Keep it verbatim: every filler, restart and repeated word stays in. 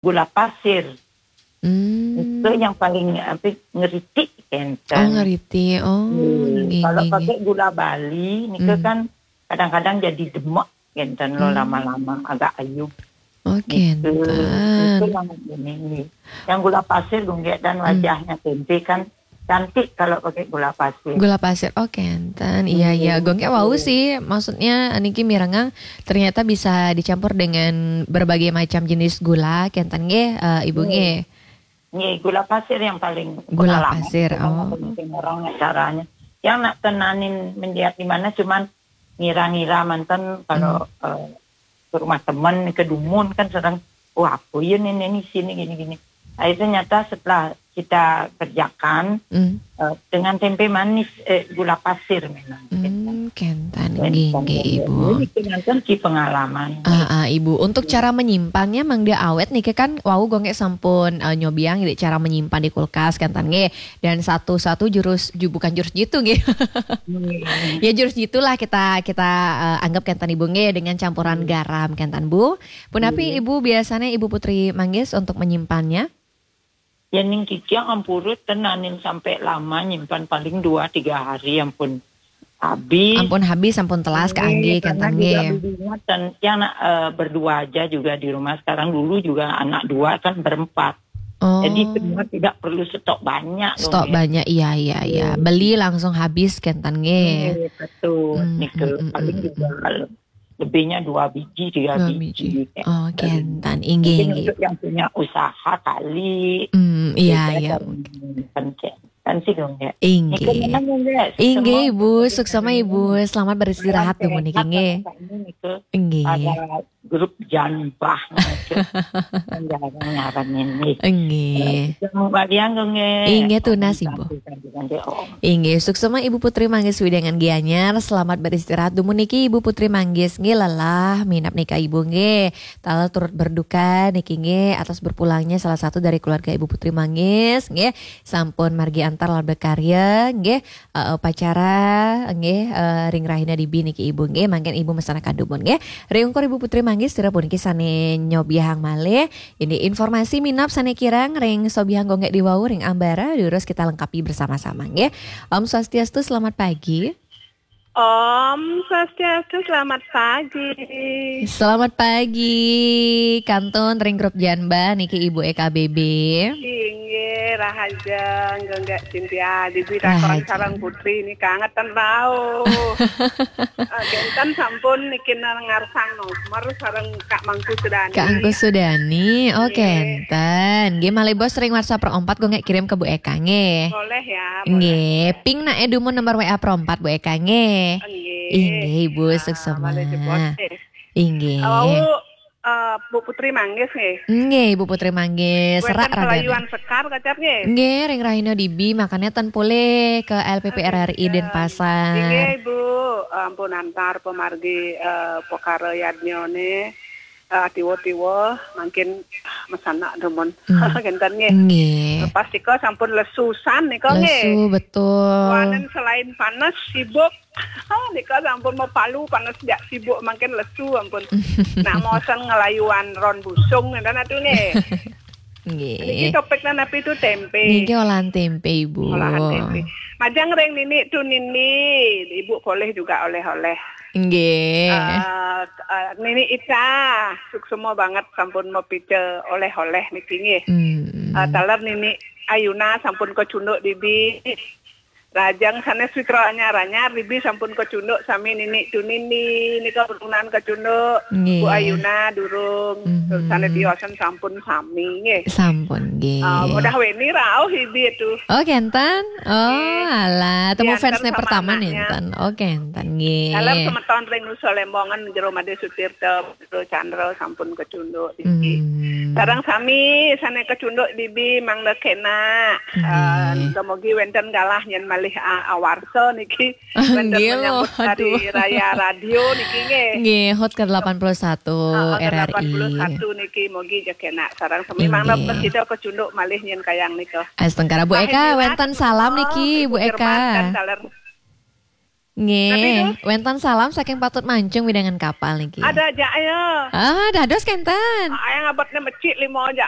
gula pasir. Hmm. Itu yang paling apa, ngeritik, oh, kenten. Ngeritik. Oh, hmm, nggih, kalau nggih, pakai nggih, gula Bali, nika, hmm, kan kadang-kadang jadi demek, kenten lo, hmm, lama-lama agak ayub. Oh, nika, kenten. Nika yang ini, nggih. Yang gula pasir, gunggek dan, hmm, wajahnya tempe kan cantik kalau pakai gula pasir. Gula pasir, oh, kenten. Iya, iya. Hmm, gunggek wau, betul, sih. Maksudnya, niki mirengang ternyata bisa dicampur dengan berbagai macam jenis gula, kenten nggih, eh, Ibu, hmm, nggih. Nggih, gula pasir yang paling, gula pengalaman, pasir, oh, orang caranya. Yang nak tenanin mendiat di mana, cuman ngira-ngira manten kalau, hmm, eh, ke rumah teman, ke dumun kan sering, "Wah, apa ya nih, nih, nih, sini gini-gini." Akhirnya nyata setelah kita kerjakan, hmm, eh, dengan tempe manis, eh, gula pasir memang. Hmm, kenten, kenten, nggih, nggih, Ibu. Jadi, kenten ki pengalaman. Ah, ah, Ibu. Untuk, hmm, cara menyimpannya, Mang, dia awet nih, kan wau gunggek sampun, eh, nyobiang, jadi cara menyimpan di kulkas, kenten, nggih. Dan satu-satu jurus, ju-, bukan jurus jitu, nggih. Hmm. Ya, jurus jitulah kita, kita, eh, anggap kenten, Ibu, nggih, dengan campuran, hmm, garam, kenten, Bu. Punapi, iya, Ibu, biasanya Ibu Putri Manggis untuk menyimpannya? Ya, ning kiki ampurut tenanin sampai lama, nyimpan paling dua tiga hari, ampun habis. Ampun habis, ampun telas, nggih, kaanggih, karena kenten, juga nggih, bibinya ten-, yang nak, eh, berdua aja juga di rumah sekarang. Dulu juga anak dua kan berempat. Oh. Jadi semua tidak perlu stok banyak, stok, nggih, banyak, iya, iya, iya. Hmm. Beli langsung habis, kenten, nggih. Nggih, betul. Hmm, nika, hmm, hmm, paling, hmm, juga, hmm, lebihnya dua biji, tiga biji, dua biji, kayak. Oh, kenten. Inggih, mungkin inggih, untuk yang punya usaha kali. Hmm, iya, iya, kan, mungkin. Kan sih, dong, ya. Inggih. Nika memang, nggih, inggih, suksema, Ibu, suksema, Ibu. Selamat beristirahat, malam, dumun niki, sehat, nggih. Sama-sama, nika. Inggih. Ada grup Janbah, nika. Kan jarang nyaran ini. Inggih. Yang balian, nggih. Inggih, tunas, Ibu. Nanti, nanti, nanti, oh. Inggih, suksema Ibu Putri Manggis widangan Gianyar, selamat beristirahat. Dumun niki Ibu Putri Manggis nggih lelah minab nika, Ibu, nggih. Taler turut berduka niki, nggih, atas berpulangnya salah satu dari keluarga Ibu Putri Manggis, nggih. Sampun margi antar lan berkarya, nggih. Eh, upacara, nggih, eh, ring rahina dibi niki, Ibu, nggih. Mangkin Ibu mesanakan dumun, nggih. Ring ungkur Ibu Putri Manggis, sira puniki sane nyobiahang malih. Ini informasi minab sane kirang ring sobiahang gunggek diwau ring ambara, durus kita lengkapi bersama-sama, nggih. Om Swastiastu, selamat pagi. Om Swastiastu, selamat pagi. Selamat pagi, kantun ring grup Janbah niki Ibu E K B B. Inggih, rahajeng, gunggek Cynthia, dibi takon rahajeng sareng Putri niki kangetan rauh. Eh, kenten sampun niki ngarsang nomor sareng Kak Mangku Sudani. Kak Mangku Sudani, oh, nggih, kenten. Nggih, malih bos ring WhatsApp Pro empat, gunggek kirim ke Bu Eka, nggih. Boleh ya, boleh. Nggih, ping nak e dumun nomor W A Pro empat, Bu Eka, nggih. Nggih. Inggih, Ibu, ah, suksema. Malih jebos, eh. Inggih. Wau, eh, Bu Putri Manggis, nggih. Nggih, Bu Putri Manggis. Wenten serak raga kelayuan sekar kacap, nggih. Nggih, ring rahina dibi, makanya ten pulih ke L P P R R I, oke, Denpasar. Inggih, Bu. Ampun antar pemargi, eh, pekara yadnyane. Eh, tiwa-tiwa mangkin mesanak dumun. Hmm. Kenten nggih. Nggih. Lepas nika sampun lesusan nika nggih. Lesu, betul. Wanen selain panas, sibuk. Nika sampun mapalu panas, jak sibuk mangkin lesu ampun. Nak mosen ngelayuan ron busung ngenten atu nggih. Nggih. Niki topiknya napi tu, tempe. Niki olahan tempe, Ibu. Olahan tempe. Majeng ring nini tu nini, Ibu polih juga oleh-oleh. Nggih. Eh, eh, Nini Ica, suksema banget sampun mapica oleh-oleh niki nggih. Hmm. Eh, taler Nini Ayuna sampun kacunduk dibi. Rahajeng sanes Witro anyar-anyar dibi sampun kacunduk sami Nini tu nini, nika berunan kacunduk. Nggih. Bu Ayuna durung. Mhm. Sanes tiosan sampun sami nggih. Sampun nggih. Ah, mudah weni rauh dibi tu. Oh, kenten. Oh, nggih. Alah, temu diantar fansnya sama pertama anaknya. Nenten. Oh, kenten nggih. Dalam semeton ring Nusa Lembongan, Jero Made Sutirta, Jero Chandra sampun kacunduk niki. Hmm. Sareng sami sane kacunduk dibi mangda kena. Nggih. Ah, dumogi wenten galah nyen malih, ah, awarsa niki. Wenten, nggih, menyambut hari raya radio niki nggih. Nggih, hut ke delapan puluh satu R R I. Ah, hut ke delapan puluh satu niki, mogi ja kena sareng sami. Nggih. Mangda prasida kacunduk malih nyen kayang nika. Astungkara Bu Eka, wenten salam niki, Bu Eka. Jerman kan taler. Nggih, wénten salam saking Patut Mancung, wewidangan Kapal niki. Ada aja ya. Ah, dados kénten. Ayang abadnya mecik lima aja.